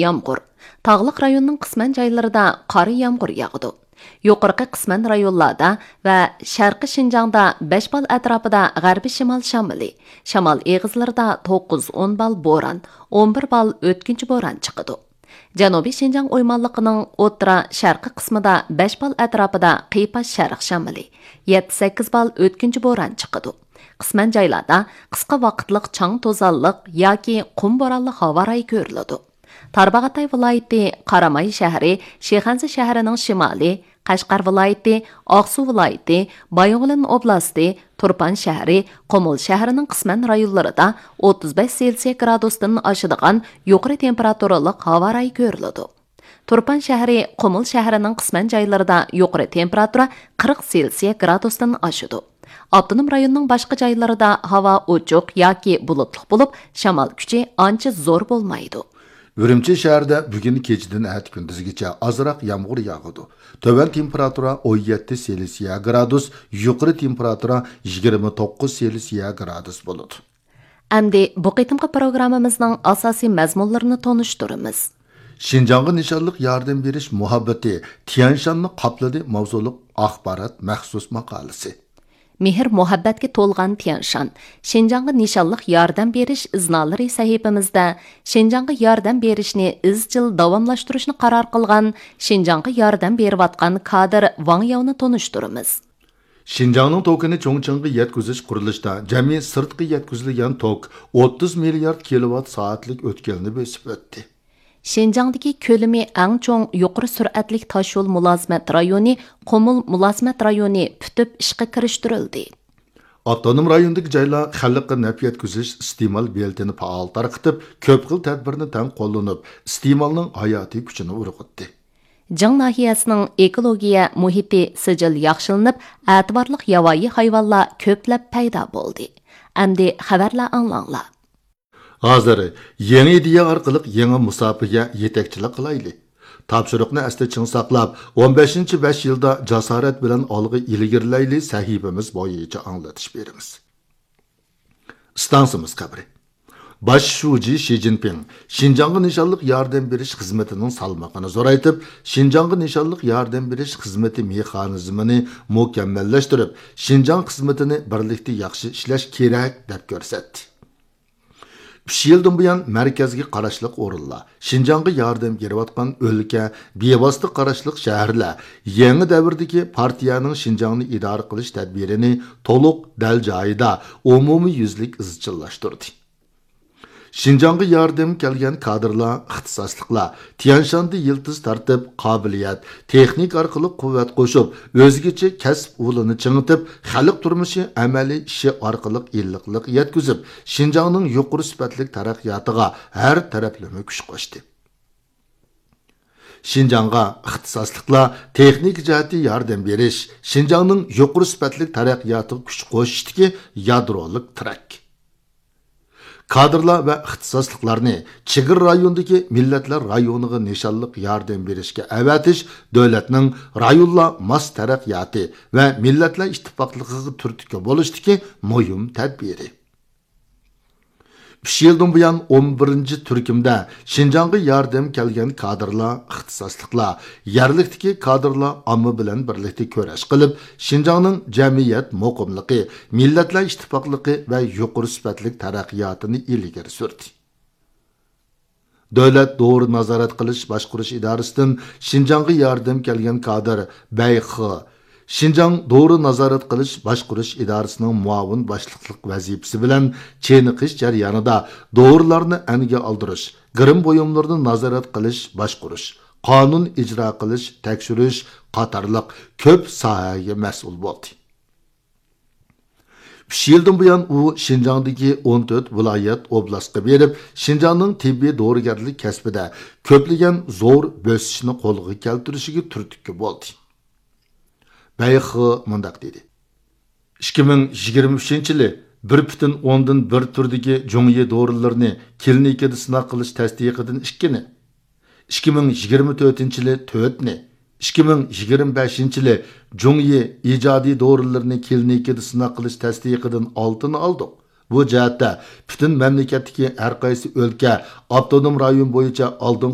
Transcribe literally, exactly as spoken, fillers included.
يامغۇر. تاغلىق رايوننىڭ قىسمەن جايلىرىدا قارا يامغۇر ياغىدۇ. يۇقىرىقى قىسمەن رايونلاردا ۋە شەرقىي شىنجاڭدا بەش بال ئەتراپىدا غەربىي شىمال شامىلى، شامال ئېغىزلىرىدا توققۇز ئون بال بوران، ئون بىر بال ئۆتكۈنچى بوران چىقىدۇ. جەنۇبىي شىنجاڭ ئويمانلىقىنىڭ ئوتتۇرا شەرقىي قىسمىدا بەش بال ئەتراپىدا قىيپاش شەرق شامىلى، يەتتە سەككىز بال ئۆتكۈنچى بوران چىقىدۇ. قىسمەن جايلاردا قىسقا ۋاقىتلىق چاڭ توزانلىق ياكى قۇم بورانلىق ھاۋا رايى كۆرۈلىدۇ. تارباغاتاي ۋىلايىتى، قاراماي شەھىرى، شىخەنزە شەھىرىنىڭ شىمالى، قەشقەر ۋىلايىتى، ئاقسۇ ۋىلايىتى، بايىنغولىن ئوبلاستى، تۇرپان شەھىرى، قۇمۇل شەھىرىنىڭ قىسمەن رايونلىرىدا ئوتتۇز بەش سېلسىيە گرادۇستىن ئاشىدىغان يۇقىرى تېمپېراتۇرىلىق ھاۋا رايى كۆرۈلىدۇ. تۇرپان شەھىرى، قۇمۇل شەھىرىنىڭ قىسمەن جايلىرىدا يۇقىرى تېمپېراتۇرا قىرىق سېلسىيە گرادۇستىن ئاشىدۇ. ئاپتونوم رايوننىڭ باشقا جايلىرىدا ھاۋا ئوچۇق ياكى بۇلۇتلۇق بولۇپ، شامال كۈچى ئانچە زور بولمايدۇ. ئۈرۈمچى شەھىرىدە بۈگۈن كېچىدىن ئەتە كۈندۈزگىچە ئازراق يامغۇر ياغىدۇ. تۆۋەن تېمپېراتۇرا ئون يەتتە سېلسىيە گرادۇس، يۇقىرى تېمپېراتۇرا يىگىرمە توققۇز سېلسىيە گرادۇس بولىدۇ. ئەمدى بۇ قېتىمقى پروگراممىمىزنىڭ ئاساسىي مەزمۇنلىرىنى تونۇشتۇرىمىز. شىنجاڭغا نىشانلىق ياردەم بېرىش مۇھەببىتى تيەنشاننى قاپلىدى ماۋزۇلۇق ئاخبارات مەخسۇس ماقالىسى. مېھىر مۇھەببەتكە تولغان تيەنشان، شىنجاڭغا نىشانلىق ياردەم بېرىش ئىزنالىرى سەھىپىمىزدە شىنجاڭغا ياردەم بېرىشنى ئىزچىل داۋاملاشتۇرۇشنى قارار قىلغان شىنجاڭغا ياردەم بېرىۋاتقان كادىر ۋاڭ ياۋنى تونۇشتۇرىمىز. شىنجاڭنىڭ توكىنى چۇڭچىڭغا يەتكۈزۈش قۇرۇلۇشىدا جەمئىي سىرتقا يەتكۈزۈلگەن توك ئوتتۇز مىليارد كىلوۋات سائەتلىك ئۆتكەلنى بېسىپ ئۆتتى. شىنجاڭدىكى كۆلىمى ئەڭ چوڭ يۇقىرى سۈرئەتلىك تاشيول مۇلازىمەت رايونى قۇمۇل مۇلازىمەت رايونى پۈتۈپ ئىشقا كىرىشتۈرۈلدى. ئاپتونوم رايوندىكى جايلار خەلققە نەپ يەتكۈزۈش ئىستېمال بېلىتىنى پائال تارقىتىپ، كۆپ خىل تەدبىرنى تەڭ قوللىنىپ، ئىستېمالنىڭ ھاياتىي كۈچىنى ئۇرغۇتتى. جىڭ ناھىيەسىنىڭ ئېكولوگىيە مۇھىتى سىجىل ياخشىلىنىپ، ئەتىۋارلىق ياۋايى ھايۋانلار كۆپلەپ پەيدا بولدى. ئەمدى خەۋەرلەر ئاڭلاڭلار. ھازىر يېڭى ئىدىيە ئارقىلىق يېڭى مۇساپىگە يېتەكچىلىك قىلايلى. تاپشۇرۇقنى ئەستە چىڭ ساقلاپ، ئون بەشىنچى بەش يىلدا جاسارەت بىلەن ئالغا ئىلگىرىلەيلى سەھىپىمىز بويىچە ئاڭلىتىش بېرىمىز. ئىستانسىمىز خەۋىرى. باش شۇجى شى جىنپىڭ شىنجاڭغا نىشانلىق ياردەم بېرىش خىزمىتىنىڭ سالمىقىنى زورايتىپ، شىنجاڭغا نىشانلىق ياردەم بېرىش خىزمىتى مېخانىزمىنى مۇكەممەللەشتۈرۈپ، شىنجاڭ خىزمىتىنى بىرلىكتە ياخشى ئىشلەش كېرەك، دەپ كۆرسەتتى. ئۈچ يىلدىن بۇيان مەركەزگە قاراشلىق ئورۇنلار، شىنجاڭغا ياردەم بېرىۋاتقان ئۆلكە، بىۋاسىتە قاراشلىق شەھەرلەر يېڭى دەۋردىكى پارتىيەنىڭ شىنجاڭنى ئىدارە قىلىش تەدبىرىنى تولۇق، دەل جايىدا، ئومۇميۈزلۈك ئىزچىللاشتۇردى. شىنجاڭغا ياردەم كەلگەن كادىرلار، ئىختىساسلىقلار تيەنشاندا يىلتىز تارتىپ، قابىلىيەت، تېخنىكا ئارقىلىق قۇۋۋەت قوشۇپ، ئۆزگىچە كەسىپ ئۇلىنى چىڭىتىپ، خەلق تۇرمۇشى ئەمەلىي ئىشى ئارقىلىق ئىللىقلىق يەتكۈزۈپ، شىنجاڭنىڭ يۇقىرى سۈپەتلىك تەرەققىياتىغا ھەر تەرەپلىمە كۈچ قوشتى. شىنجاڭغا ئىختىساسلىقلار، تېخنىكا جەھەتتە ياردەم بېرىش، شىنجاڭنىڭ يۇقىرى سۈپەتلىك تەرەققىياتىغا كۈچ قوشۇشتىكى يادرولۇق تىرەك. كادىرلار ۋە ئىختىساسلىقلارنى چېگرا رايونىدىكى مىللەتلەر رايونىغا نىشانلىق ياردەم بېرىشكە ئەۋەتىش دۆلەتنىڭ رايونلار ماس تەرەققىياتى ۋە مىللەتلەر ئىتتىپاقلىقىغا تۈرتكە بولۇشتىكى مۇھىم تەدبىرى. ئۈچ يىلدىن بۇيان ئون بىرىنچى تۈركۈمدە شىنجاڭغا ياردەم كەلگەن كادىرلار، ئىختىساسلىقلار، يەرلىكتىكى كادىرلار ئامما بىلەن بىرلىكتە كۈرەش قىلىپ، شىنجاڭنىڭ جەمئىيەت مۇقىملىقى، مىللەتلەر ئىتتىپاقلىقى ۋە يۇقىرى سۈپەتلىك تەرەققىياتىنى ئىلگىرى سۈردى. دۆلەت دورا نازارەت قىلىش باشقۇرۇش ئىدارىسىدىن شىنجاڭغا ياردەم كەلگەن كادىر بەي خې، شىنجاڭ دورا نازارەت قىلىش باشقۇرۇش ئىدارىسىنىڭ مۇئاۋىن باشلىقلىق ۋەزىپىسى بىلەن چېنىقىش جەريانىدا دورىلارنى ئەنگە ئالدۇرۇش، گىرىم بۇيۇملىرىنى نازارەت قىلىش، باشقۇرۇش، قانۇن ئىجرا قىلىش، تەكشۈرۈش قاتارلىق كۆپ ساھەگە مەسئۇل بولدى. ئۈچ يىلدىن بۇيان ئۇ شىنجاڭدىكى ئون تۆت ۋىلايەت، ئوبلاستقا بېرىپ، شىنجاڭنىڭ تېببىي دورىگەرلىك كەسپىدە كۆپلىگەن زور بۆسۈشنى قولغا كەلتۈرۈشىگە تۈرتكە بولدى. بەي خې مۇنداق دېدى: ئىككى مىڭ يىگىرمە ئۈچىنچى يىلى بىر پۈتۈن ئوندىن بىر تۈردىكى جۇڭيى دورىلىرىنى كلىنىكىدا سىناق قىلىش تەستىقىدىن ئىككىنى، ئىككى مىڭ يىگىرمە تۆتىنچى يىلى تۆتنى، ئىككى مىڭ يىگىرمە بەشىنچى يىلى جۇڭيى ئىجادىي دورىلىرىنى كلىنىكىدا سىناق قىلىش تەستىقىدىن ئالتىنى ئالدۇق. بۇ جەھەتتە پۈتۈن مەملىكەتتىكى ھەر قايسى ئۆلكە، ئاپتونوم رايون بويىچە ئالدىنقى